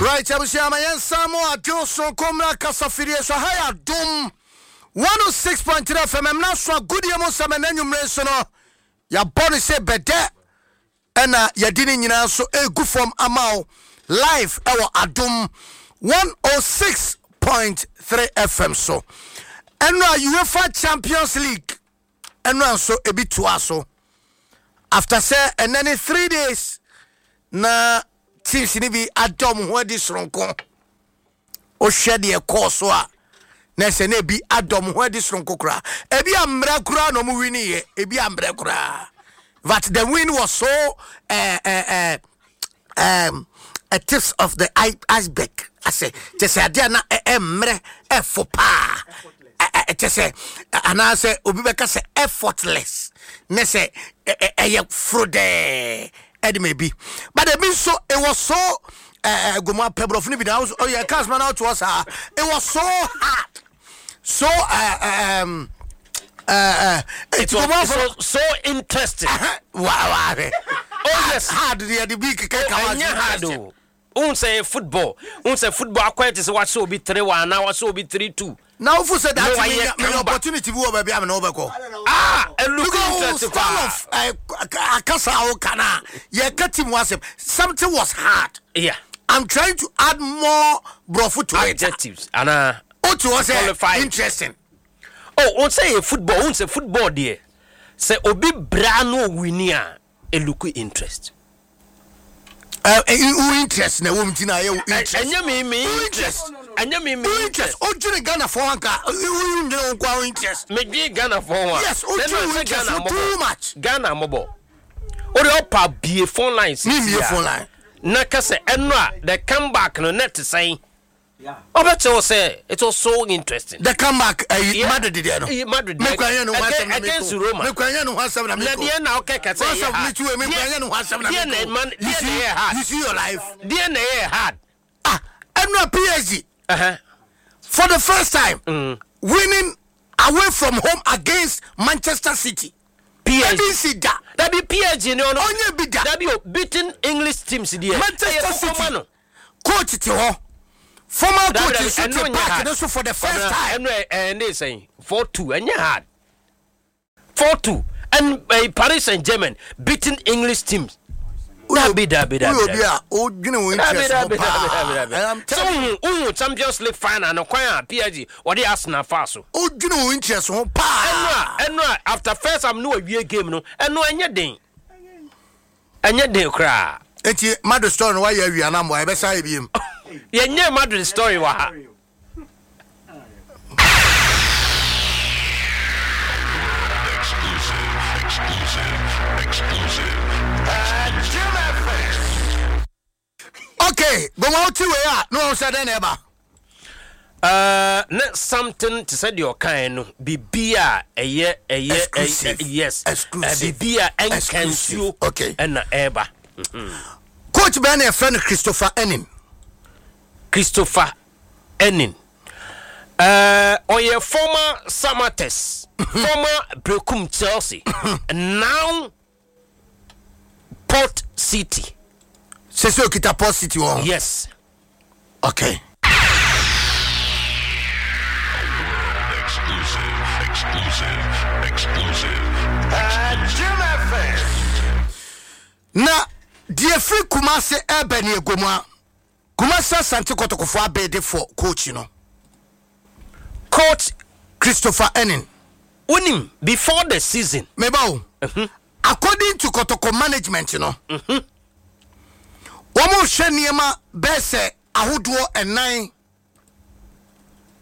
Right, abusua ma yɛnsan mo adwo sonko mmra kasafidie so. Ha yɛ Adom 106.3 FM. Ɛmna so agodie mu nsɛm ɛnɛ anwummere nso no yɛabɔ no sɛ bɛdɛ ɛna yɛde ne nyinaa nso ɛregu fam ama wo live ɛwɔ Adom 106.3 FM so. Ɛno a UEFA Champions League ɛno nso ebi toa so after sɛ ɛnɛ ne 3 days na teams no bi ada wɔn ho adi soronko. Wohwɛ deɛ kɔɔ so a, na ɛsɛ na ebi ada wɔn ho adi soronko koraa. Ebi ammerɛ koraa na wɔn win yɛ, ebi ammerɛ koraa, but the win was so a tips of the iceberg asɛ kyɛ sɛ adeɛ a na ɛmmerɛ ɛfo paa, kyɛ sɛ anaasɛ obi bɛka sɛ effortless ne sɛ ɛyɛ foro dɛɛ ɛde ma ebi, but ebi nso it was so gomu apɛ borɔfo no bi na ɔyɛ cars ma na ɔtoɔ saa. It was so hard, so It was so interesting. Wa wa Oh yes. Hard deɛ de bi keka ka wa. Ɛnyɛ hard o. Ohun sɛ football, ohun sɛ football akɔyɛ te sɛ wahyɛ obi 3-1 anaa wahyɛ obi 3-2. Na wofu sɛ that menya opportunity bi wɔ baabi a mene wobɛkɔ. Ah, ɛlook interesting paa. Style of akasa a woka no a yɛka team wasɛm, something was hard. I'm trying to add more borɔfo to it. Adjectives anaa. Wote hɔ sɛ interesting. Oh, ohun sɛ yɛ football, ohun sɛ football deɛ sɛ obi bra no owin a, ɛlook interest. Wo interest na ɛwɔ mu ti na ayɛ wo interest. Ɛnyɛ mi interest, ɛnyɛ mi interest. O dwiri Ghana fɔ anka o dwiri o nkwa o interest. Me dwi Ghana fɔ wa. Yes, o dwiri o interest o too much. Ghana mɔbɔ o de ɔpa bie phone line sisi. Mi bie phone line. Na kɛsɛ ɛno a the comeback no net sɛn ɔbɛkyerɛ wo sɛ it was so interesting. The comeback ɛyi Madrid deɛ no. Madrid deɛ mekura yɛn no ho asɛm na against Roma. Mekura yɛn no ho asɛm na meko. Na deɛ na ɔkɛ kɛsɛ yɛ hard. Deɛ mekura yɛn no ho asɛm na meko. Deɛ na ɛyɛ hard. You see your life. Deɛ na ɛyɛ hard. Ah, ɛnu a PSG. For the first time winning away from home against Manchester City. PSG. Ebi nsi da. Dabi, PSG ni ɔno. Onye bi da. Dabi o, beating English teams deɛ. Manchester City coach te hɔ, former coach nso te park ne so for the first time. Ɛnu ɛɛ ne sɛn 4-2, ɛnyɛ hard, 4-2, and Paris Saint Germain beating English teams. Dabi, dabi, dabi. Woyɛ obi a wodwene wo interest ho paa. Sɛ wohu Champions League final no kwan a PSG wɔde Arsenal fa so. Wodwene wo interest ho paa. Ɛno a after first half no wawie game no, ɛno ɛnyɛ den, ɛnyɛ den koraa. Eti Madrid story no wayɛ awia na mmoa yɛbɛsa ayɛ biem. Yɛnyɛ Madrid story wɔ ha. Exclusive, exclusive, exclusive. Jim FM. Okay, gbɔn wote wei a na wɔn sɛ dɛn na ɛba? Ne something te sɛ deɛ ɔkae no, biribi a ɛyɛ Exclusive. Yes. Exclusive. Biribi a ɛnka nsuo ɛna ɛreba. Coach bɛn na yɛfrɛ no Christopher Enin? Christopher Enin, ɔyɛ former Samatex, former Brekum Chelsea, now Port City. Sɛ okita Port City wɔ ho? Yes. Okay. Exclusive, exclusive, exclusive. Jim FM. Na deɛ firi Kumase ɛbɛ ne egomu a Kumase Asante Kɔtɔkɔfoɔ abɛɛde for coach no. Coach Christopher Enin. Wonim before the season. Meba o, according to Kɔtɔkɔ management no, wɔn hwɛ nneɛma bɛɛ sɛ ahodoɔ ɛnan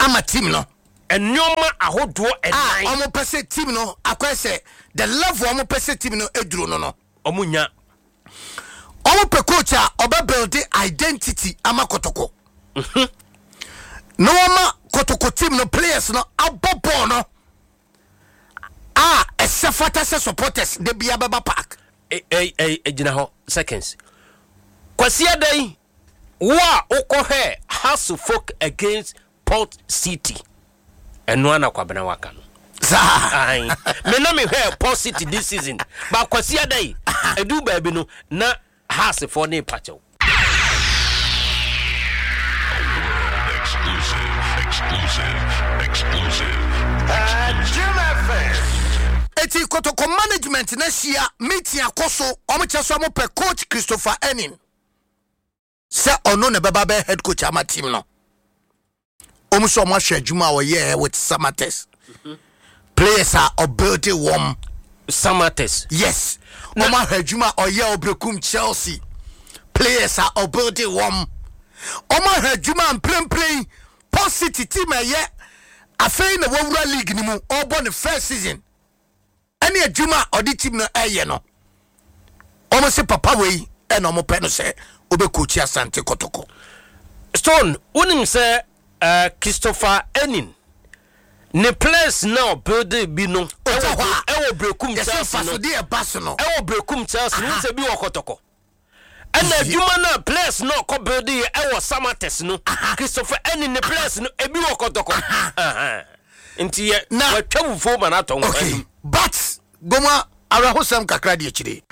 ama team no. Nneɛma ahodoɔ a ɛnan. Wɔn pɛ sɛ team no akɔyɛ sɛ the level wɔn pɛ sɛ team no eduro no. Ɔmo nya. Wɔn pɛ coach a ɔbɛ build identity ama Kɔtɔkɔ na wɔma Kɔtɔkɔ team no players no abɔ bɔɔl no a ɛsɛ fata sɛ supporters de bia bɛba park. Ɛ gyina hɔ seconds. Kwasi Adan, wo a wokɔhwɛ Hearts of against Port City, ɛno ana Kwabena waka no. Saa. Ae. Me na mehwɛ Port City this season, ba Kwasi Adan, ɛdu baabi no na Heartsfoɔ ne pakyɛw. Exclusive. Exclusive. Exclusive. Jim FM. Eti Kotoko management no ahyia meeting akɔ so, wɔn kyɛ so wɔn pɛ coach Christopher Enin sɛ ɔno na ɛbɛba bɛyɛ head coach ama team no. Wɔn nso wɔn ahwɛ adwuma a ɔyɛɛ with Samatex players a ɔbuilde wɔn. Samatex. Yes, wɔn ahwɛ adwuma a ɔyɛ ɔbrekum Chelsea players a ɔbuilde wɔn. Wɔn ahwɛ adwuma a mprempren Port City team a ɛyɛ afei na wawura league no mu ɔrebɔ ne first season ɛne adwuma a ɔde team no ɛyɛ no. Wɔn se papa wei ɛna wɔn pɛ no sɛ ɔbɛkookyi Asante Kɔtɔkɔ. Stone, wonim sɛ uh, Christopher Enin ne players na ɔbuilde bi no ɛwɔ ɛwɔ Berekum Chelsea no ɛwɔ Berekum Chelsea no sɛ bi wɔ Kɔtɔkɔ. Ɛna adwuma no a players no ɔkɔ build yɛ ɛwɔ Samatex no, Christopher ɛne ne players no ebi wɔ Kɔtɔkɔ. Nti yɛ Na watwa wufuo ma no atɔ nkwa okay anim. but Goma awerɛhosɛm kakra di akyire.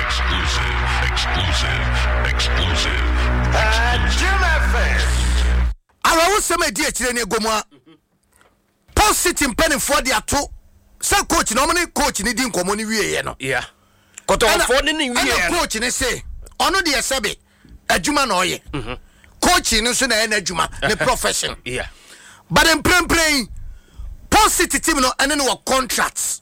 Exclusive. Exclusive. Exclusive. Jim FM. Awerɛhosɛm a ɛdi akyire ne Goma Port City mpanimfoɔ de ato sɛ coach na wɔn ne coach ne di nkɔmɔ no wieɛ no. Yeah. Kɔtɔkɔfoɔ ne ne wieɛ Ɛna coach ne se ɔno deɛ sɛbe adwuma na ɔyɛ. Mhm. Coach no nso na ɛyɛ n'adwuma ne profession. Yeah. But mprempren yi Port City team no ɛne no wɔ contract.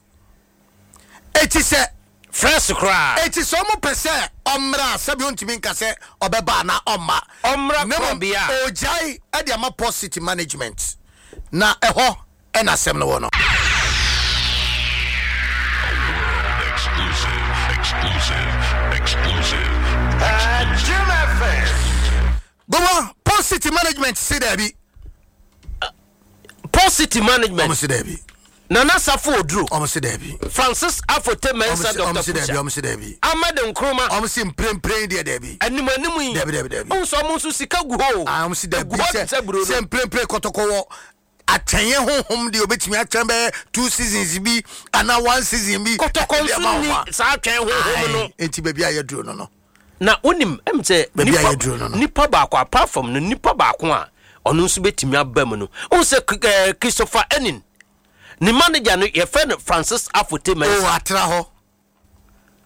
Eti sɛ. Fresh koraa. Eti sɛ ɔmo pɛ sɛ ɔmmra a sɛbi ontumi nka sɛ ɔbɛba anaa ɔmma. Ɔmmra Na mmom korɔbea a. ɔgyae de ama Port City management. Na ɛhɔ na asɛm no wɔ no. Exclusive. Exclusive. Exclusive. Jim FM. Gowa, Port City management se daabi. Port City management. Ɔmo se daabi. Nana Safo Oduro. Ɔmo se daabi. Francis Afote Mensah Dr. Pusha. Ɔmo se daabi. Ahmed Nkrumah. Ɔmo se mprempren deɛ daabi. Anim anim yi. Daabi daabi daabi. Ɔmo sɛ ɔmo nso sika gu hɔ o. Ah, ɔmo se daabi Egu hɔ te sɛ buro no. sɛ mprempren kɔtɔkɔ wɔ atwɛnyɛ honhom deɛ obetumi atwɛn bɛyɛ two seasons bi anaa one season bi. Kɔtɔkɔ Ɛde nso ama nni wɔn a. saa atwɛn honhom no. Ae, enti baabi a yɛduro no no. Na wonim ɛm sɛ Baabi a nipa yɛduru no no. nipa baako apart from no nipa baako a ɔno nso bɛtumi aba mu no wohu sɛ eh, Christopher Enin ne manager no yɛfrɛ no Francis Afote O Mensah atra hɔ.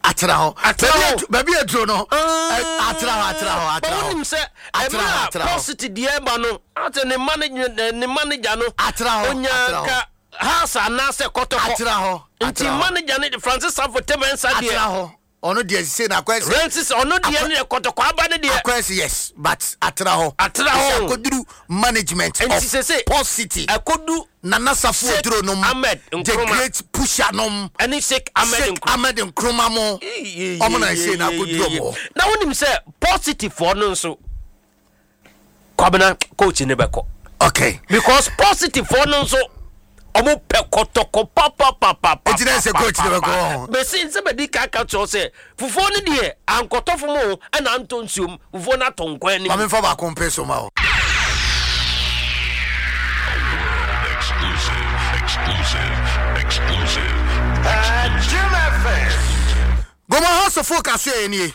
Atra hɔ. Atra Baabi hɔ. a baabi a aduro no. Atra hɔ atra hɔ atra But hɔ. wonim sɛ Atra hɔ, ɛmerɛ a atra hɔ. Paul City deɛ ɛba no asɛ ne manager ne manager no Atra hɔ, onya atra hɔ. nka Hearts anaasɛ Kɔtɔkɔ Atra hɔ, nti atra hɔ. manager no de Francis Afote Mensah deɛ Atra hɔ. Ɔno deɛ sese na akɔyɛ sɛ. Francis ɔno deɛ no yɛ kɔtɔkɔ aba no deɛ. Akɔyɛ sɛ yes but atra hɔ. Atra hɔ. Sɛ akɔduru management Nti sese of Port City. Ɛkɔdu. Nana Safo Sheikh Oduro nom. Ahmed The Nkrumah. great pusher nom. Ɛne Sheikh Ahmed Sheikh Nkrumah. Ahmed Nkrumah mo. Ɔmo na ɛsɛ na akɔduru ɔmo hɔ. Na wonim sɛ Port City foɔ no nso Kwabena coach ne bɛkɔ. Okay. Because Port City foɔ no nso ɔmo pɛ kɔtɔkɔ papapapapa. Eti na ɛsɛ coach ne bɛkɔ hɔ. Bɛsi nsɛ bɛdi ka ka kyerɛ sɛ fufuo no deɛ ankɔtɔ fam o ɛna antɔ nsuom fufuo no atɔ nkwan anim. Maame nfa baako mpe so ma o. Exclusive. Exclusive. Exclusive. Jim FM. Goma House of Folk aso yɛ nie.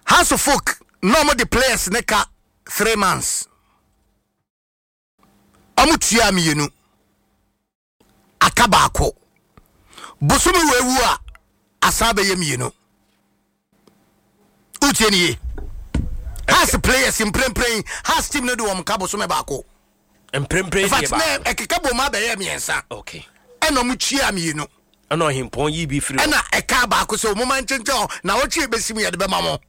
House of Folk na ɔmo de players ne ka 3 months. Ɔmo tua mmienu. Aka baako. Bosome wɔ ewu a asan bɛyɛ mmienu. Wotie ne ye. Hearts players mprempren Hearts team no de wɔn ka bosome baako. Mprempren In fact deɛ na baako. ɛkeka bom abɛyɛ mmiɛnsa. Okay. Ɛna ɔmo tua mmienu. Ɛna ɔhempɔn yi bi firi hɔ. Ɛna ɛka baako sɛ ɔmo ma nkyɛnkyɛn hɔ na ɔtwe ebesi mu yɛde bɛma mo.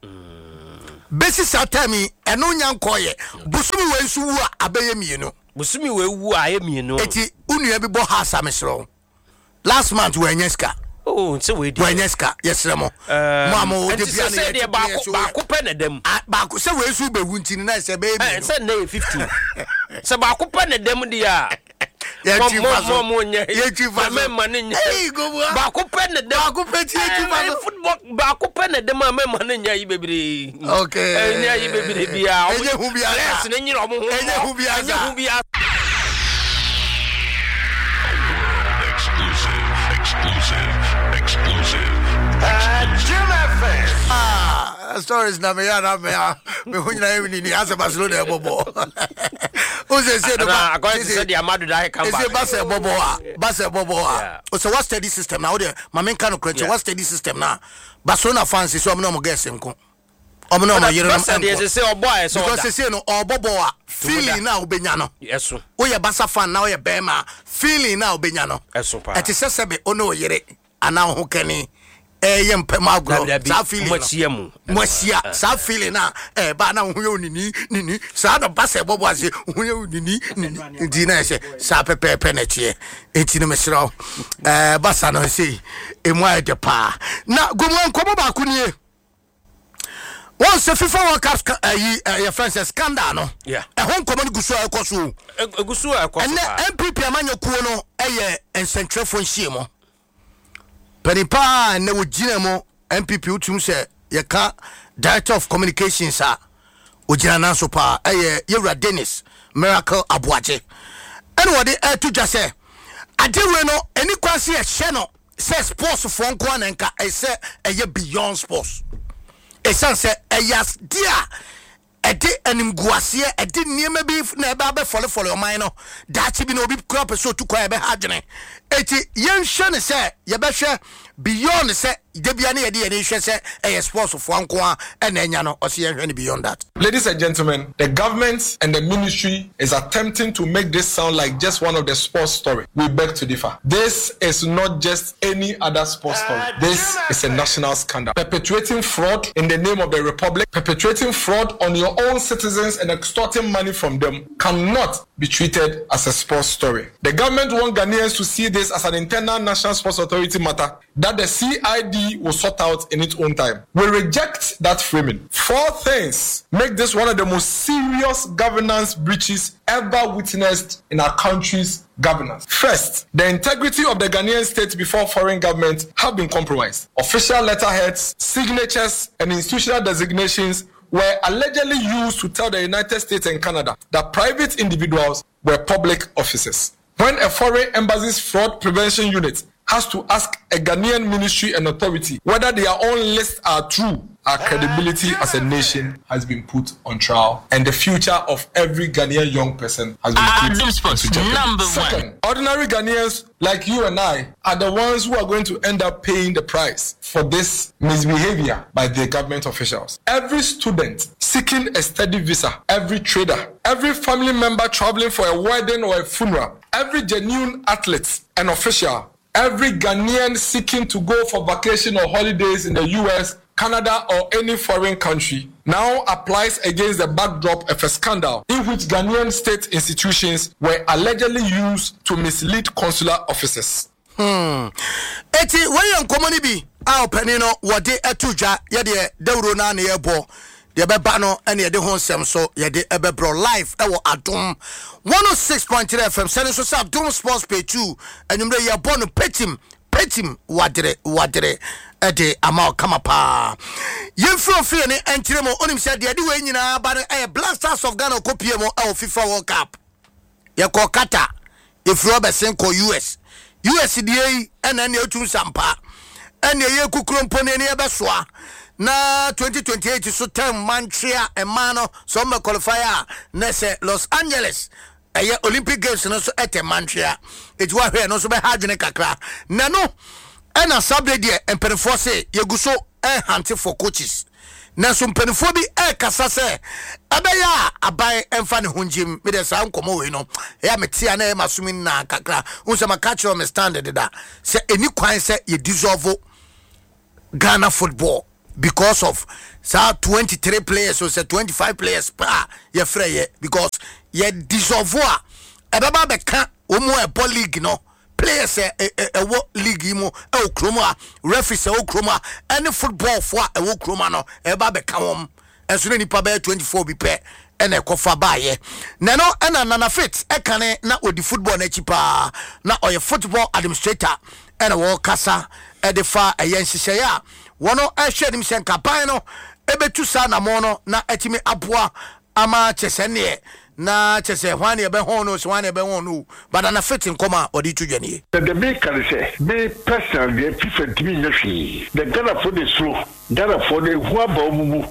Besi saa time yi ɛno nya nkɔɔyɛ. Bosome wei nso wu a abɛyɛ mmienu. Bosome wei wu a ayɛ mmienu. Eti wo nua bi bɔ Hearts a mesrɛ wo. Last month wɔanya sika. Oh, sɛ wei deɛ. Wɔanya sika yɛsrɛ mo. Mo a mo de Nti bia sɛ ne sɛ yɛ deɛ baako baako pɛ na ɛda mu. Ah, baako sɛ wei nso bɛwu nti no na ɛsɛ bɛyɛ Ɛ mmienu. sɛ nnɛ yɛ 15. Sɛ baako pɛ na ɛda mu deɛ a. Yɛtwi fa so. Mo mo nyɛ. Yɛtwi fa so. Mɛma ne nyɛ. Ei, Gomoa. Baako pɛ na ɛda mu. Baako pɛ ti yɛtwi fa so. Football baako pɛ na ɛda mu a mɛma ne nyɛ ayi bebree. Okay. Ɛnyɛ ayi bebree biara. Ɛnyɛ hu biara. Players ne nyere ɔmo ho. Ɛnyɛ hu biara. Ɛnyɛ hu biara. Exclusive. Exclusive. Exclusive. Jim FM. Ah. Stories na meyɛ na me a me ho nyinaa yɛ nini asɛ Barcelona ɛbɔ bɔ. O sɛ sɛ no ba. Akɔyɛ te sɛ deɛ Amadu da come back. Ɛsɛ Barca ɛbɔ bɔ a Barca ɛbɔ bɔ a. O sɛ wa steady system na o deɛ ma me nka no korɛ kyɛ wa steady system na Barcelona fans sɛ ɔmo na ɔmo girls nko. Ɔmo na ɔmo yerenom nko. Because sɛ no ɔbɔ bɔ a feeling na wobɛnya no. Woyɛ Barca fan na woyɛ bɛrima feeling na wobɛnya no. Ɛte sɛ sɛbe wo ne wo yere anaa wo ho kani ɛyɛ mpɛ mu agorɔ saa feeling no mo ahyia saa feeling na ɛba na wo ho yɛ wo nini nini saa na ba sɛ ɛbɔbɔ ase wo ho yɛ wo nini nini nti na ɛsɛ saa pɛpɛɛpɛ na ɛteɛ nti no mesrɛ wo ɛɛ basa no sei emu ayɛ dɛ paa na gomu nkɔmɔ baako nie wɔn sɛ FIFA World Cup ɛyi ɛyɛ fɛn sɛ scandal no ɛho nkɔmɔ no gu so a ɛkɔ so egu so a ɛkɔ so ɛnɛ NPP amanyɔkuo no ɛyɛ nsɛntwerɛfoɔ nhyiamu panin paa ɛnɛ wɔgyina mu NPP wotum sɛ yɛka director of communications a ogyina nan so paa ɛyɛ yɛwura Dennis Miracle Aboagye ɛna wɔde ɛto dwa sɛ adeɛ wei no ɛni kwan sɛ yɛhyɛ no sɛ sports foɔ nko ara na nka ɛsɛ ɛyɛ beyond sports ɛsiane sɛ ɛyɛ adeɛ a ɛde animguaseɛ ɛde nneɛma bi na ɛbɛ abɛfɔlefɔle ɔman no daakye bi na obi kura pɛ sɛ otu kwan ɛbɛha adwene eti yɛnhwɛ ne sɛ yɛbɛhwɛ beyond sɛ debia ne yɛde yɛn hwɛ sɛ ɛyɛ sports foɔ nko ara ɛna ɛnya no ɔsi yɛnhwɛ ne beyond that. Ladies and gentlemen, the government and the ministry is attempting to make this sound like just one of the sports story. We beg to differ. This is not just any other sports story. This is a national scandal. Perpetuating fraud in the name of the republic, perpetuating fraud on your own citizens and extorting money from them cannot be treated as a sports story. The government want Ghanaians to see this as an internal National Sports Authority matter that the CID will sort out in its own time. We reject that framing. Four things make this one of the most serious governance breaches ever witnessed in our country's governance. First, the integrity of the Ghanaian state before foreign governments have been compromised. Official letterheads, signatures, and institutional designations were allegedly used to tell the United States and Canada that private individuals were public officers. When a foreign embassy's fraud prevention unit has to ask a Ghanaian ministry and authority whether their own lists are true, our credibility as a nation has been put on trial, and the future of every Ghanaian young person has been put into jeopardy. Second, ordinary Ghanaians like you and I are the ones who are going to end up paying the price for this misbehavior by the government officials. Every student seeking a study visa, every trader, every family member traveling for a wedding or a funeral, every genuine athlete and official, every Ghanaian seeking to go for vacation or holidays in the US, Canada, or any foreign country now applies against the backdrop of a scandal in which Ghanaian state institutions were allegedly used to mislead consular officers. Eti wei yɛ nkɔmmɔ no bi a ɔpanin no wɔde ato dwa. Yɛdeɛ dawuro no a na yɛbɔ deɛ ɛbɛba no ɛna yɛde ho nsɛm so yɛde ɛbɛbrɔ live ɛwɔ Adom 106.3 FM sɛne nso sɛ Adom Sports Page 2 anwummerɛ yɛbɔ no petim petim wadere wadere ɛde ama ɔkama paa. Yɛmfiri ofie ne ɛnkyerɛ mu onim sɛ deɛ ɛde wei nyinaa ba no ɛyɛ Black Stars of Ghana ɔkɔpie mu ɛwɔ FIFA World Cup. Yɛkɔ Qatar, yɛfiri hɔ bɛsen kɔ US. US deɛ yi ɛna ɛne ɛtum sampa ɛne ɛyɛ kukuro mpo ne ɛne ɛbɛsoa na 2028 so term mantwea ɛmaa no sɛ ɔmmɛ qualify a na sɛ Los Angeles ɛyɛ Olympic Games no so ɛtɛ mantwea ɛti wahwɛ ɛno nso bɛha adwene kakra na no ɛna saa berɛ deɛ mpanimfoɔ se yɛgu so ɛhante for coaches nanso mpanimfoɔ bi ɛrekasa sɛ ɛbɛyɛ a aban ɛmfa ne ho ngyim. Medeɛ saa nkɔmmɔ wei no ɛyɛ a mete a na ɛyɛ m'asom nyinaa kakra. Wohu sɛ maka kyerɛ me stand deda sɛ ɛni kwan sɛ yɛ dissolve Ghana football because of saa 23 players or sɛ 25 players pa a yɛfrɛ yɛ because yɛ dissolve a ɛbɛba bɛka wɔn mu a ɛbɔ league no players a ɛwɔ league yi mu ɛwɔ kurom a referees ɛwɔ kurom a ɛne football fo a ɛwɔ kurom a no ɛba bɛka wɔn ɛnso ne nipa bɛyɛ 24 bi pɛ ɛna ɛkɔfa baayɛ na ɛno ɛna Nana Fit ɛkane na ɔdi football n'akyi paa na ɔyɛ football administrator ɛna wɔkasa ɛde fa ɛyɛ nhyehyɛeɛ a wɔn ɛhwɛ anim sɛ nkaban no ɛbɛtu saa namɔ no na ɛtumi aboa ama kyɛ sɛ neɛ Na kyɛ sɛ hwan na yɛbɛhɔn no o, sɛ hwan na yɛbɛhɔn no o, but Nana Fit nkɔm a ɔde to dwa nie. Na deɛ meka ne sɛ, me personal deɛ FIFA ntumi nyɛ hwee, na Ghanafoɔ na ɛsuro, Ghanafoɔ no ɛhu aba wɔn mu,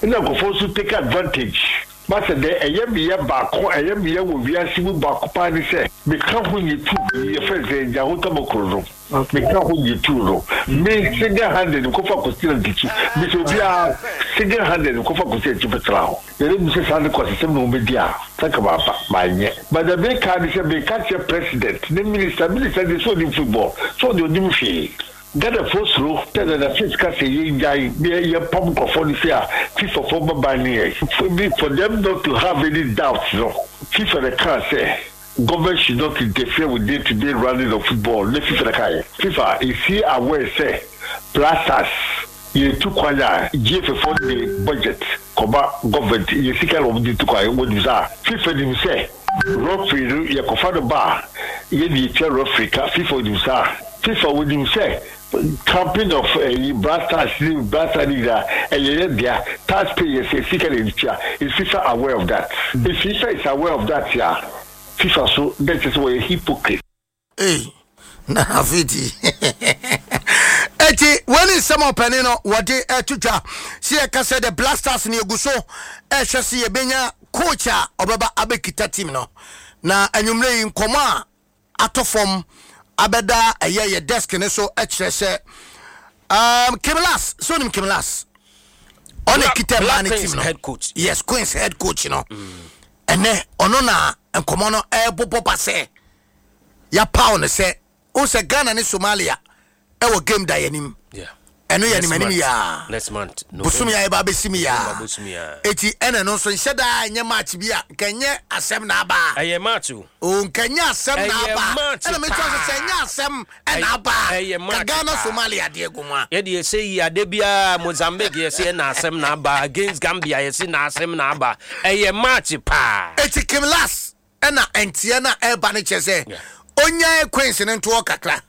ɛna nkurɔfoɔ nso take advantage, Masɛ deɛ ɛyɛ me ya baako a ɛyɛ me ya wɔ wiase mu baako paa ne sɛ, meka ho nye tuu yi yɛfrɛ no sɛ Nyaho Tamokro no, meka ho nye tuu no, me single handed mekɔfa Kwasi Nantikyi, mesɛ obiara single handed mekɔfa Kwasi Nantikyi bɛtena hɔ. Yɛde nim sɛ saa ne kwasesɛm na wɔbɛdi a, sɛ anka mampa, manyɛ. But deɛ meka ne sɛ, meka kyerɛ president ne minister, minister deɛ sɛ ɔnim football, sɛ ɔdeɛ ɔnim hwee. Ghanafoɔ suro sɛ Nana Fitz ka sɛ yɛngyae na yɛmpam nkurɔfoɔ no sei a, FIFA foɔ bɛban ne yɛn. For me, for them not to have any doubt no, FIFA na ɛkaa sɛ government should not interfere with day to day running of football, ne FIFA na ɛkaeɛ. FIFA is he aware sɛ Blasters Yɛtu kwan a, GFA foɔ no de budget kɔma government, yɛ sika na wɔn de tu kwan, wɔnim saa. FIFA nim sɛ referee no yɛkɔfa no ba a, yɛn na yɛtua referee ka, FIFA nim saa. FIFA wɔnim sɛ camping of ɛyi Black Stars ne Black Stars ne nyinaa ɛyɛ yɛn dea, tax payers yɛ sika na yɛde tua, is FIFA aware of that? If FIFA is aware of that a, FIFA so na ɛkyerɛ sɛ wɔyɛ hypocrite. Ei, na afiti. Eti wei ne nsɛm a ɔpanin no wɔde ɛto dwa sɛ yɛka sɛ the Black Stars no yɛgu so ɛhwɛ sɛ yɛbɛnya coach a ɔbɛba abɛkita team no na anwummerɛ yi nkɔmmɔ a atɔ fam abɛda ɛyɛ yɛ desk no so kyerɛ sɛ um, Kim Las sɛ onim Kim Las ɔna kita mmaa no team no head coach. Yes, Queens head coach no ɛnɛ ɔno na nkɔmmɔ no ɛbobɔ ba sɛ yɛapaw no sɛ wohu sɛ Ghana ne Somalia ɛwɔ game da yɛnim ɛno yɛ anim anim yaa bosom yɛ ɛba abɛsi mi yaa eti ɛna ɛno nso nhyɛ daa ɛnyɛ match bi a nka ɛnyɛ asɛm na aba ɛyɛ match o o nka ɛnyɛ asɛm na aba ɛna mi tɔ sɛ ɛnyɛ asɛm ɛna aba ka Ghana Somalia adeɛ gu mu a yɛde yɛsɛ yi ade biara Mozambique yɛsɛ ɛna asɛm na aba against Gambia yɛsɛ na asɛm na aba ɛyɛ match paa eti Kim Las Ɛna nteɛ no a ɛreba no kyerɛ sɛ ɔnyae Queens no ntoɔ kakra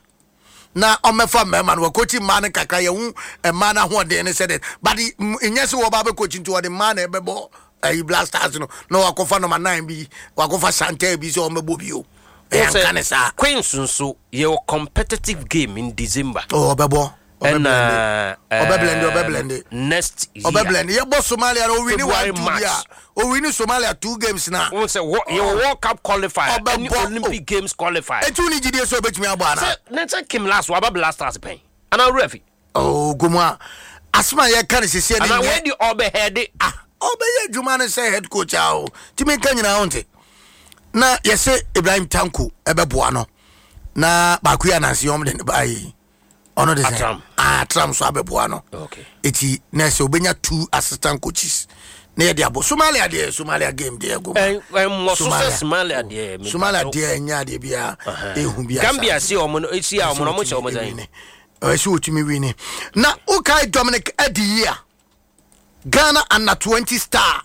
na ɔmmɛfa mmarima no wakɔkyi mmaa no kakra yɛhu mmaa no ahoɔden no sɛdeɛ but nyɛ sɛ wɔba bɛkɔkyi nti wɔde mmaa na ɛbɛbɔ ayi Black Stars no na wakɔfa nɔma 9 bi wakɔfa Chantel bi sɛ ɔmmɛbɔ bio ɛyɛ nka ne saa. Queens nso yɛwɔ competitive game in December. Oh, ɔbɛbɔ. Ɛna ɔbɛblende ɔbɛblende next year ɔbɛblende yɛbɔ Somalia no owini one two bi a owini Somalia two games na. Wɔn sɛ wɔ yɛwɔ World Cup qualifier ɛne Olympic Games qualifier. Etu ni gyidie sɛ ɔbɛtumi abɔ ana. Sɛ ne sɛ Kim Last waba Blasters pɛn ana owura fi. Oh gomu a asɛm a yɛka no sisi ɛne nyɛ. Ana wei di ɔbɛhɛde. Ah ɔbɛyɛ adwuma no sɛ head coach a o tumi nka nyinaa ho nte na yɛsɛ Ibrahim Tanko ɛbɛboa no na baako yi anansi wɔn de ne ba yi. ɔno de sɛ atram so abɛboa no eti na ɛsɛ obenya two assistant coaches na yɛde abɔ Somalia deɛ Somalia game deɛ ɛgo ma Somalia deɛ Somalia deɛ ɛnyɛ adeɛ biara ehu biara Gambia si wɔn no esi a wɔn no wɔn hyɛ wɔn sɛn ɛsɛ otumi wini na wokae Dominic Adiyi a Ghana under 20 star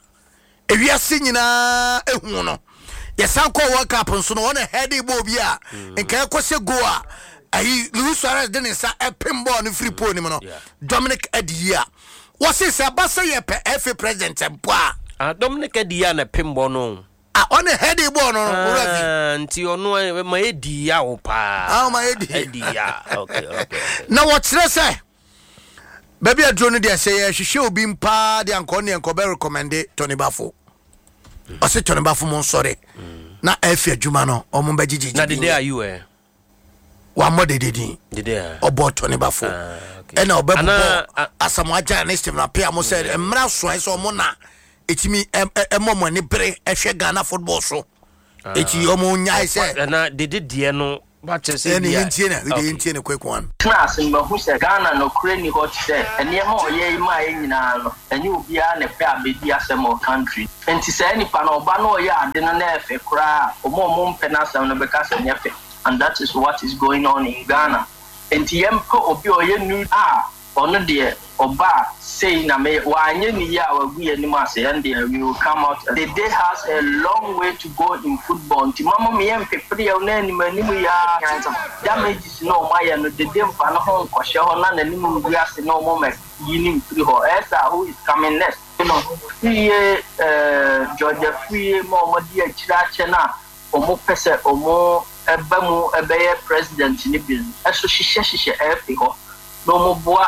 ewiase nyinaa ehu no yɛsan kɔ World Cup nso no ɔna head ball bi a mm. nka ɛkɔ sɛ goal a ayi Luis Suarez de ne nsa ɛpem ball no firi pole no mu no Dominic Adiyi a wɔse sɛ ɛba sɛ yɛpɛ FA president mpo a ah, Dominic Adiyi a na pem ball no Ah, ɔne head ball no no owura fi. Ah, nti ɔno ma edi ya o paa. Ah, ma edi. Edi ya. Okay, okay. Na wɔkyerɛ sɛ Baabi aduro no deɛ sɛ yɛhwehwɛ obi mpaa deɛ anka ɔne nka ɔbɛ recommende Tony Bafo. Ɔse Tony Bafo mo nsɔre na ɛfi adwuma no ɔmo bɛ gyegye Na dede ayi wɛ. Wammɔ dede din. Dede a. Ɔbɔ Tony Bafo. Ah, okay. Ɛna ɔbɛ Ana bobɔ Asamoah Gyan ne Stephen Appiah mo sɛ mmra soɛ sɛ ɔmo na ɛtumi ɛmɔ mo ani bere ɛhwɛ Ghana football so. Eti ɔmo nyae sɛ. Ɛna dede deɛ no Wakyerɛ sɛ Ɛne ebia yɛntie no wede okay. yɛntie no quick one. Tena ase no mahu sɛ Ghana nokorɛ nni hɔ te sɛ nneɛma a ɔyɛ yi maa yɛn nyinaa no ɛnyɛ obiara na ɛpɛ abɛdi asɛm wɔ country nti saa nipa no ɔba na ɔyɛ ade no na ɛfɛ koraa a ɔmo a ɔmo mpɛ n'asɛm no bɛka sɛ ɛnyɛ fɛ and that is what is going on in Ghana nti yɛmpɛ obi a ɔyɛ new a Ɔno deɛ ɔba a sei na meyɛ, wanyɛ ne yie a wagu yɛn anim ase, ɛndeɛ we will come out and Dede has a long way to go in football nti mma mo yɛ mpepereɛw na anim anim yi ara damages no a wɔn ayɛ no Dede mfa ne ho nkɔhyɛ hɔ na n'anim ngu ase na wɔn mma yi no mfiri hɔ ɛyɛ saa who is coming next? No Afriyie eh, George Afriyie ma wɔn de akyire akyɛ no a wɔn pɛ sɛ wɔn ba mu bɛyɛ president no bi no so hyehyɛ hyehyɛ FA hɔ na wɔn boa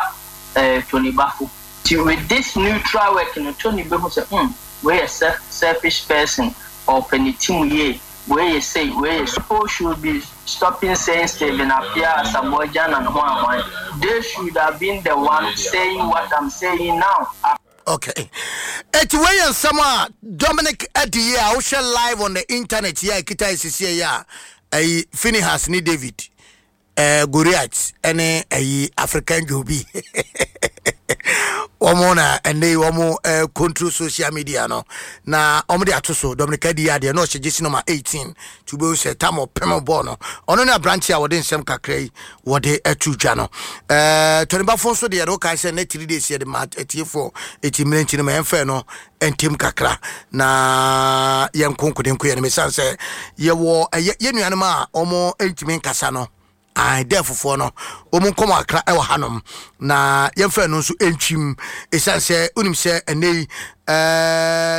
eh, Tony Bafo. Nti with this neutral work no Tony bɛhu sɛ hmm wei yɛ self selfish person, ɔpɛ ne team yie, wei yɛ sei, wei yɛ People should be stopping saying Stephen Appiah Asamoah Gyan and hwan hwan, they should have been the one saying what I'm saying now. Okay. Eti wei yɛ nsɛm a Dominic adi yi a wohwɛ live on the internet yi a ɛkita esisi yi a ɛyi Phinehas ne David eh, Goliath ɛne ɛyi African Jobi wɔn na ɛnɛ yi wɔn eh, control social media no na wɔn de ato so Dominic adi yi adeɛ na ɔhyɛ gyesi number 18 nti wobɛhu sɛ tam ɔpem bɔɔl no ɔno ne aberante a wɔde nsɛm kakra yi wɔde ato dwa no ɛɛ tɔnibafo nso deɛ no wokae sɛ ne 3 days yɛde ma atiefoɔ ɛti mmerɛ nti no ma yɛmfɛ no ntam kakra na yɛnko nkodenko yɛ no mesiane sɛ yɛwɔ ɛyɛ yɛ nuanom a wɔn ntumi nkasa no ae dɛ fofoɔ no wɔn nkɔmɔ akra ɛwɔ hanom na yɛmfa ɛno nso ntwim ɛsiane sɛ wonim sɛ ɛnɛ yi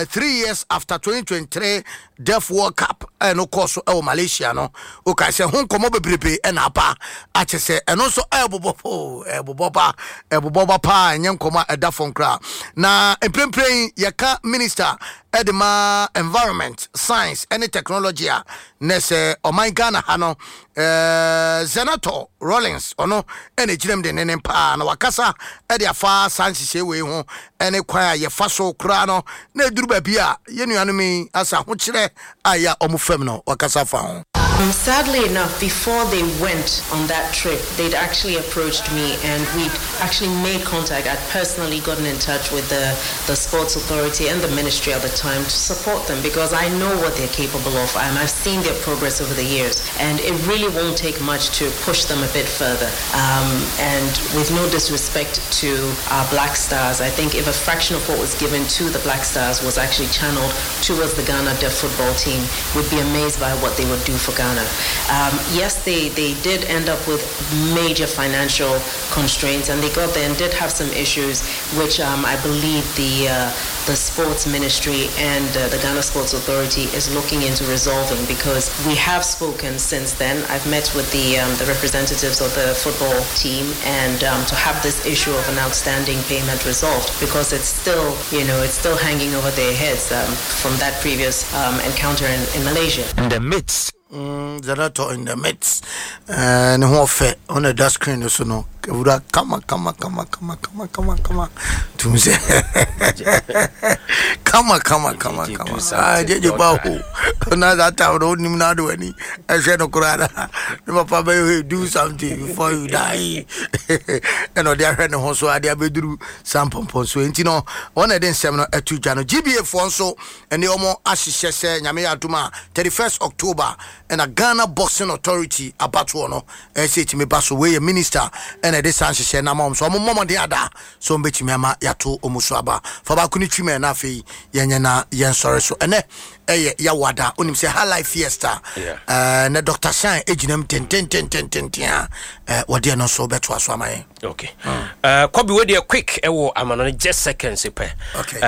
3 years after 2023 Deaf World Cup ɛno kɔɔ so ɛwɔ Malaysia no wokae sɛ ho nkɔmmɔ bebrebe ɛna aba akyɛ sɛ ɛno nso ɛbobɔ po ɛbobɔ ba ɛbobɔ ba paa ɛnyɛ nkɔmmɔ a ɛda fam koraa na mprempren yɛka minister ɛde ma environment science ɛne technology a na sɛ ɔman Ghana ha no Zanetor Rawlings ɔno ɛna gyina mu denneennen paa na wakasa ɛde afa saa nhyehyɛe wei ho ɛne kwan a yɛfa so koraa no na ɛduru baabi a yɛn nuanom yi asa ahokyerɛ a ɛyɛ a wɔn fam no wakasa fa ho. Sadly enough, before they went on that trip, they'd actually approached me and we'd actually made contact. I'd personally gotten in touch with the, the Sports Authority and the ministry at the time to support them because I know what they're capable of and I've seen their progress over the years. And it really won't take much to push them a bit further. And with no disrespect to our Black Stars, I think if a fraction of what was given to the Black Stars was actually channeled towards the Ghana deaf football team, we'd be amazed by what they would do for Ghana. Yes, they did end up with major financial constraints, and they got there and did have some issues, which I believe the Sports Ministry and the Ghana Sports Authority is looking into resolving, because we have spoken since then. I've met with the representatives of the football team and to have this issue of an outstanding payment resolved, because it's still hanging over their heads from that previous encounter in Malaysia. In the midst. Zanetor in the midst. Ne ho ɔfɛ ɔna da screen no so no ewura kama kama kama kama kama kama kama tum sɛ kama kama kama kama ah jeje ba ho na that time no onim na do ani ɛhwɛ no koraa na ne papa bɛyɛ do something before you die ɛna ɔde ahwɛ ne ho so ade abɛduru saa mpɔmpɔn so nti no wɔn na ɛde nsɛm no ɛto dwa no. GBA foɔ nso ɛne wɔn ahyehyɛ sɛ Nyame yɛ adom a 31st October ɛna Ghana Boxing Authority abatoɔ no ɛsɛ ɛtumi ba so. Wei yɛ minister ɛna ɛde saa nhyehyɛ no ama wɔn so wɔn mmɔmɔden ada so wɔn bɛtumi ama yɛato wɔn so aba. Fa baako no twim ɛ na afei yɛnyɛ na yɛnsɔre so. Ɛnɛ ɛyɛ Yawada, wonim sɛ High Life Fiesta ɛnɛ Dr Shine ɛgyina mu tentententententen a wɔde ɛno nso bɛtoa so ama yɛn. Okay. Kɔbi wo deɛ quick ɛwɔ amano no just seconds pɛ. Okay.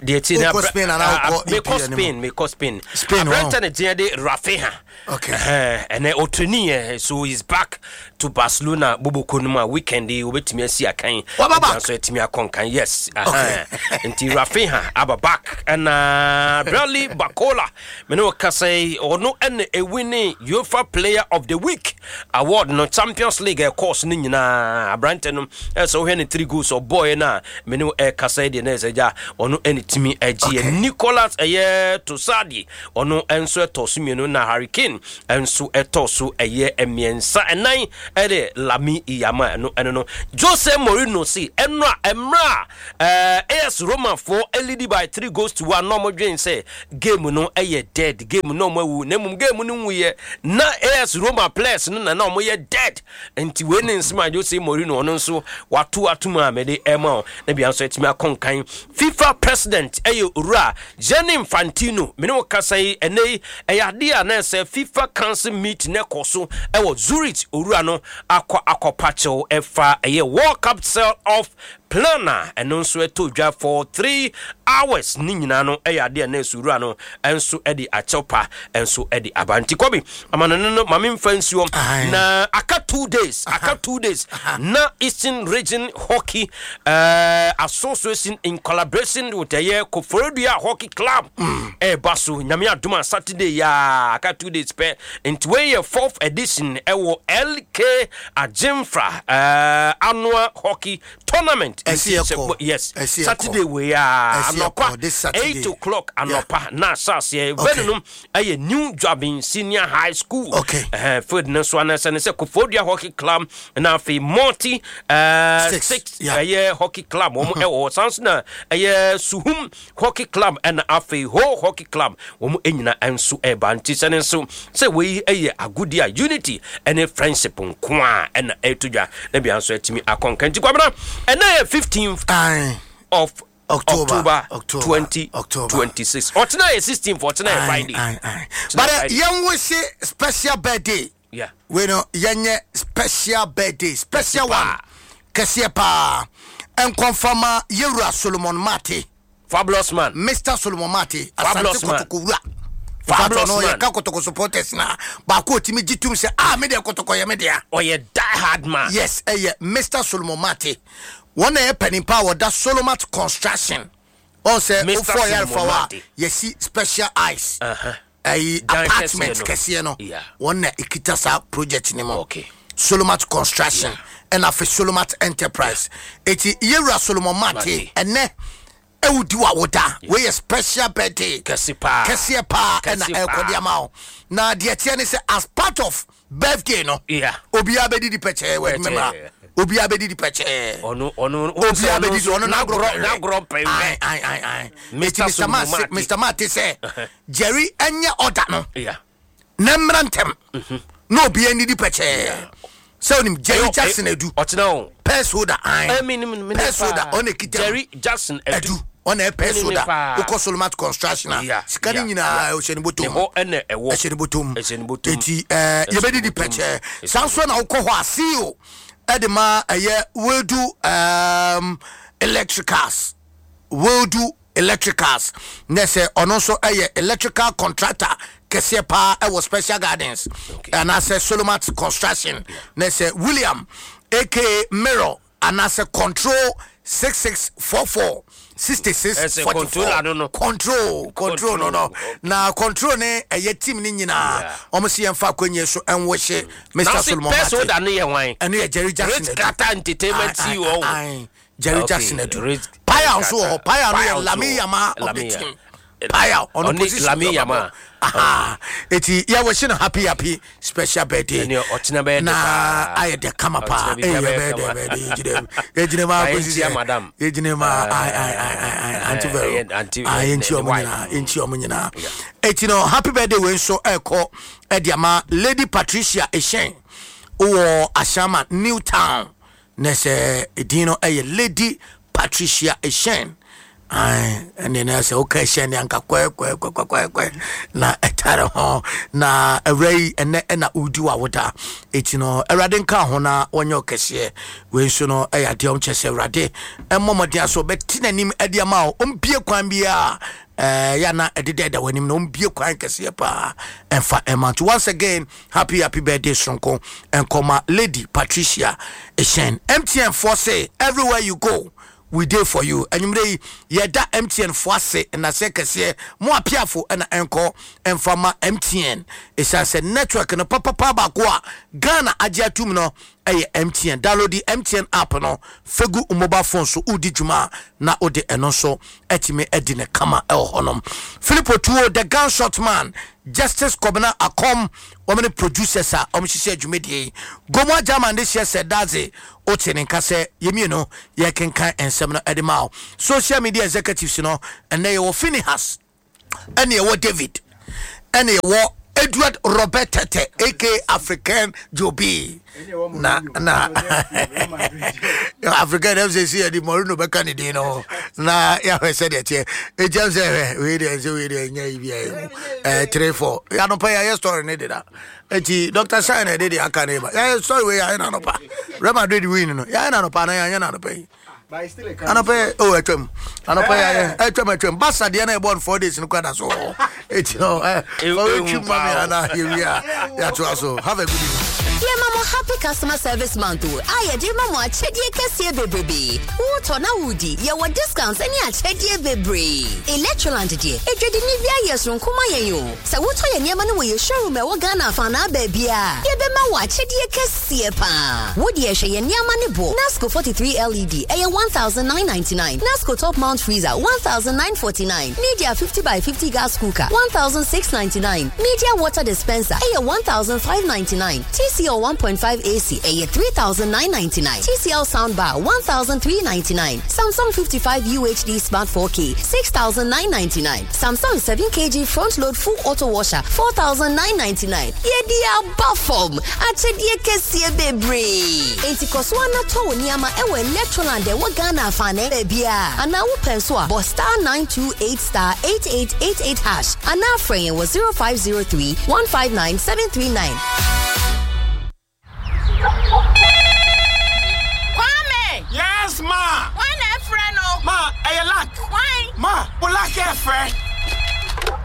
Deɛ ti na Wokɔ Spain anaa wokɔ mekɔ EPL no mu? Spain, mekɔ Spain. Spain, Aberante ne deɛ de Raphinha. Okay. Ɛnɛ ɔtraining yɛ so he's back to Barcelona boboko no mu a weekend yi wobɛtumi asi akan. Waba back? Ɛgya nso atumi akɔ nkan, yes. Okay. Nti Raphinha aba back ɛna Bradley Barcola mene wo kasa yi ɔno ɛna ɛwin UEFA Player of the Week award no Champions League ɛkɔɔ so no nyinaa. Aberante no ɛsɛ wohwɛ ne three goals ɔbɔɔɛ no a mene wo ɛkasa yi deɛ na ɛsɛ gya ɔno ɛne tumi agyeɛ. Nicolas ɛyɛ Tosadi ɔno nso ɛtɔ so mmienu na Harry Kane nso ɛtɔ so ɛyɛ mmiɛnsa ɛnan ɛde Lamine Yamal ɛno no Jose Mourinho si ɛno a ɛmmerɛ a AS Roma foɔ ɛlead by 3 goals to 1 na ɔmo dwen sɛ game no ɛyɛ dead game na ɔmo awu na mmom game no nwuyɛ na AS Roma players no na ɔmo yɛ dead. Nti wei ne nsɛm a Jose Mourinho ɔno nso wato atom a mede ɛma o na bia nso atumi akɔ nkan. FIFA president ɛyɛ owura Gianni Infantino mene wo kasa yi ɛnɛ yi ɛyɛ adeɛ a na ɛsɛ FIFA Council meet ne kɔ so ɛwɔ Zurich. Owura no akɔ akɔpa kyɛw ɛfa ɛyɛ World Cup sell off. Plan a ɛno nso ɛtɔ dwa for 3 hours ne nyinaa no ɛyɛ adeɛ a na ɛsowura no nso de akyɛw pa nso de aba. Nti kɔbi amanɔne no, maame mfa nsuo na aka 2 days, aka 2 days na Eastern Region Hockey Association in collaboration with ɛyɛ Koforidua Hockey Club ɛɛba so. Nyame adom a, Saturday yaa, aka 2 days pɛ. Nti wei yɛ fourth edition ɛwɔ LK Agyemfra annual hockey tournament. Ɛsi ɛkɔ. Yes, Saturday wei a, anɔpa 8 o'clock anɔpa na ahyɛ aseɛ. Venue no ɛyɛ New Juaben Senior High School. Field no so anasɛ ne sɛ Koforidua Hockey Club na afei Multi Six ɛyɛ hockey club wɔn ɛwɔ hɔ. San so na ɛyɛ Suhum Hockey Club ɛna afei Ho Hockey Club, wɔn nyina nso ɛba. Nti sɛ ne nso sɛ wei ɛyɛ agodi a unity ɛne friendship nko a ɛna ɛto dwa na bia nso atumi akɔnka. Nti Kwabena, ɛna yɛ 15th of October, October 2026. Ɔtena yɛ 16th, ɔtena yɛ Friday. But yɛn wo se special birthday. Wei no yɛnyɛ special birthday, special one kɛseɛ paa nkɔnfama yɛwura Solomon Mate. Fabulous man. Mr Solomon Mate, Asante Kotoko wura. Fabulous man. Yɛka Kotoko supporters na baako otimi gye tum sɛ, ah, me deɛ Kotoko yɛ me dea. Ɔyɛ die hard man. Yes, ɛyɛ Mr Solomon Mate. Wɔn na yɛ panimpa a wɔda Solomat Construction. Wɔn sɛ wofɔ yɛrefa hɔ a, yɛsi Special Ice ɛyi apartment kɛseɛ no, wɔn na ekita saa project ni mu. Solomat Construction ɛna afei Solomat Enterprise. Eti yɛwura Solomon Mate, ɛnɛ ɛwudi wa woda, wei yɛ special birthday kɛse paa. Kɛseɛ paa ɛna ɛkɔ de ama wo. Na deɛ teɛ ne sɛ as part of birthday no, obiara bɛdidi pɛkyɛɛ wɔ adwuma mu, obiara bɛdidi pɛkyɛɛ. Ɔno ɔno Obiara bɛdidi, ɔno n'agorɔ n'agorɔ pɛn. Ayi ayi ayi ayi. Eti Mr Mate, Mr Mate sɛ Jerry ɛnyɛ ɔda no na mmra ntɛm na obiara nidi pɛkyɛɛ sɛ onim Jerry Jackson Adu. Ɔtena o. Purse holder ayi, purse holder ɔna ekita. Jerry Jackson Adu. Ɔna ɛ purse holder. Wokɔ Solomat Construction a, sika ne nyinaa ɔhyɛ ne bɔtɔm. Ne hɔ ɛna ɛwɔ. Ɛhyɛ ne bɔtɔm. Ɛhyɛ ne bɔtɔm. Eti yɛbɛdidi pɛkyɛɛ. Saa nso na wokɔ hɔ a, CEO ɛde ma ɛyɛ Wildu Electricals, Wildu Electricals na sɛ ɔno nso ɛyɛ electrical contractor kɛseɛ paa ɛwɔ Special Gardens anaasɛ Solomat Construction, na sɛ William aka Mirror anaasɛ Control 6644 66 44 control, control no na control ne ɛyɛ team ne nyinaa, wɔn si yɛn fa akonnwa so ɛnwɔhyɛ Mr Solomon Mate. Ɛno yɛ hwan? Ɛno yɛ Jerry Jackson. Rich Carter Entertainment CEO. Jerry Jackson Adu. Paya nso wɔ hɔ. Paya no yɛ Lami Yama of the team. Paya ɔno position. Lami Yama. Eti yɛ wɔ no happy happy special birthday. Ɔkyena bɛyɛ. Na ayɛ dɛ kama paa. Ɛyɛ bɛyɛ dɛ bɛyɛ dɛ yɛgyina mu yɛgyina mu akosi sɛ yɛgyina mu ayi ayi ayi ayi Aunty Vero ayi yɛnkyi ɔmo nyinaa, yɛnkyi ɔmo nyinaa. Eti no happy birthday wei nso ɛkɔ ɛde ama Lady Patricia Eshen wɔ Ashama New Town, na sɛ edin no ɛyɛ Lady Patricia Eshen. Ɛne ne sɛ woka ɛhyɛn ne anka kɔɛkɔɛkɔɛkɔɛ na ɛtare ho na awura yi ɛnɛ ɛna wodi wa woda. Ɛti no Awurade nka ho na wɔnyɛ ɔkɛseɛ. Wei nso no ɛyɛ adeɛ ɔmkyɛ sɛ Awurade ɛmmɔ mmɔden aso ɔbɛte n'anim ɛde ama wo, ɔmbie kwan biaa yɛ na ɛdeda ɛda w'anim na ɔmbie kwan kɛseɛ paa ɛmfa ɛma. Nti once again, happy happy birthday soronko nkɔma Lady Patricia Ɛhyɛn. MTN foɔ say everywhere you go, we dey for you. Anwummerɛ yi yɛda MTN foɔ ase nnasɛ kɛseɛ mo apiafo ɛna ɛnkɔ ɛmfa ma MTN, ɛsiane sɛ network no papapa baako a Ghana agye atum no ɛyɛ MTN. Download the MTN app no fegu mobile phone so, wodi dwuma a na wode ɛno nso atumi adi ne kama ɛwɔ hɔnom. Philip Otuo, the gunshot man, Justice Kɔbena Akɔm, wɔn ne producers a wɔn hyehyɛ dwumadie yi. Gomu Agyaman de hyɛ sɛ daadze wote ne nka sɛ yɛmmienu yɛkenkan nsɛm no ɛde ma wo. Social media executives no, ɛnɛ yɛwɔ Phineas, ɛne yɛwɔ David, ɛne yɛwɔ Edward Robert Tete aka African Jobi, na African ɛm sɛ si yɛde Morino bɛka ne din no na yɛahwɛ sɛdeɛ teɛ. Ɛgyam sɛ hwɛ wei deɛ sɛ wei deɛ nyɛ yi bia ɛmu 3 4 anɔpa yɛayɛ story ne deda. Eti Dr Shine ɛde deɛ aka ne ba yɛayɛ story wei, yɛayɛ no anɔpa. Real Madrid win no, yɛayɛ no anɔpa na yɛanyɛ no anɔpa yi. Anɔpɛ o atwam. Anɔpɛ yɛ atwam atwam. Basa deɛ na ɛbɔ no 4 days no kora da so wɔ hɔ. Eti no ɛ fa wetwi ma me ana yɛwie a yɛatoa so. Have a good evening. Yɛma mo Happy Customer Service Month o a yɛde rema mo akyɛdeɛ kɛseɛ bebrebee. Wotɔ na wodi, yɛwɔ discounts ne akyɛdeɛ bebree. Electroland deɛ, adwadini biara yɛ soronko ma yɛn o. Sɛ wotɔ yɛn nneɛma no wɔ yɛn showroom a ɛwɔ Ghana afaanaa baabiara a, yɛbɛma wo akyɛdeɛ kɛseɛ paa. Wo deɛ hwɛ yɛn nneɛma no boɔ, Nasco 43 LED, ɛyɛ 1999, Nasco Top Mount Freezer, 1949, Media 50x50 Gas Cooker, 1699, Media Water Dispenser, ɛyɛ 1599, TCL 1.5 AC, ɛyɛ 3999, TCL Soundbar, 1399, Samsung 55 UHD Smart 4K, 6999. Samsung 7kg front load full auto washer 4999. Yɛde aba fam akyɛdeɛ kɛseɛ bebree. Enti kɔ so ara na tɔ wo nneɛma ɛwɔ Electroland ɛwɔ Ghana afanan baabiara. Anaa wopɛ nso a bɔ star 928 star 8888 hash anaa frɛ yɛn wɔ 0503 159 739. Kwame! Yes, ma! Hwan na ɛfrɛ no? Ma, ɛyɛ luck. Hwan? Ma, wo luck ɛfrɛ.